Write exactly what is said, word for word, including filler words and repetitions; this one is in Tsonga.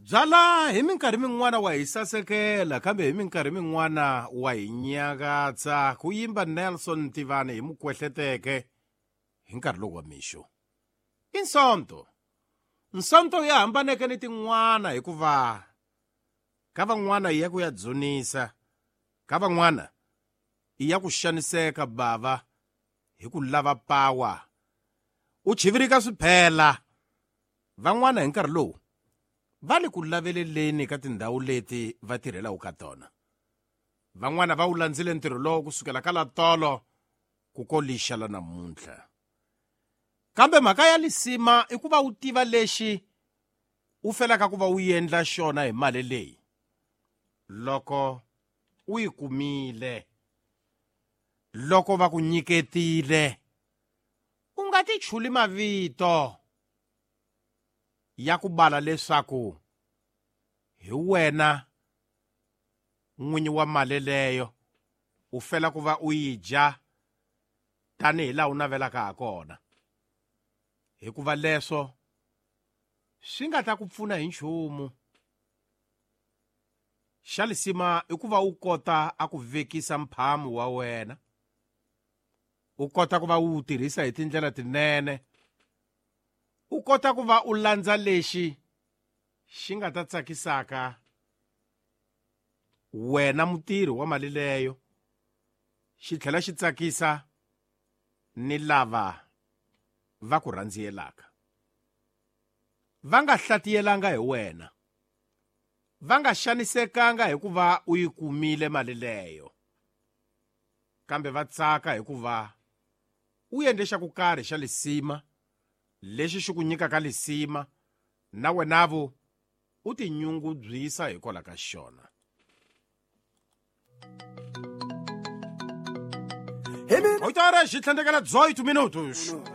Byala hi minkarhi min'wana wa hi sasekela kambe hi minkarhi min'wana wa hi nyakatsa ku yimba Nelson Tivani hi mukwehleteke hi nkarhi lowu wa mixo. I Nsonto. Nsonto ya hambaneke ni tin'wana hikuva ka van'wana i ya ku ya dzunisa, ka van'wana i ya ku xaniseka bava hi ku lava pawa. U chivirika swiphela. Van'wana hi nkarhi lowu va le ku laveleleni ka tindhawu leti va tirhelaka ka tona. Van'wana va wu landzile ntirho lowu kusukela ka la tolo ku ko lixa la namuntlha. Kambe mhaka ya lisima i ku va u tiva lexi u felaka ku va u endla xona hi mali leyi loko u yi kumile, loko va ku nyiketile, u nga ti chuli mavito ya ku bala leswaku hi wena n'winyi wa mali leyo u fela ku va u yi dya tanihi laha u navelaka ha kona, hikuva leswo swi nga ta ku pfuna hi nchumu. Xa lisima i ku va u kota a ku vekisa mphamu wa wena, u kota ku va u wu tirhisa hi tindlela tinene, u kota ku va u landza lexi xi nga ta tsakisaka wena mutirhi wa mali leyo, xi tlhela xi tsakisa ni lava va ku rhandziyelaka. Va nga hlatiyelanga hi wena, va nga xanisekanga hikuva u yi kumile mali leyo, kambe va tsaka hikuva u endle xa ku karhi xa lisima lexi xi ku nyikaka lisima na wenavo u tinyungubyisa hikwalaho ka xona. Oito horas e trinta e oito minutos.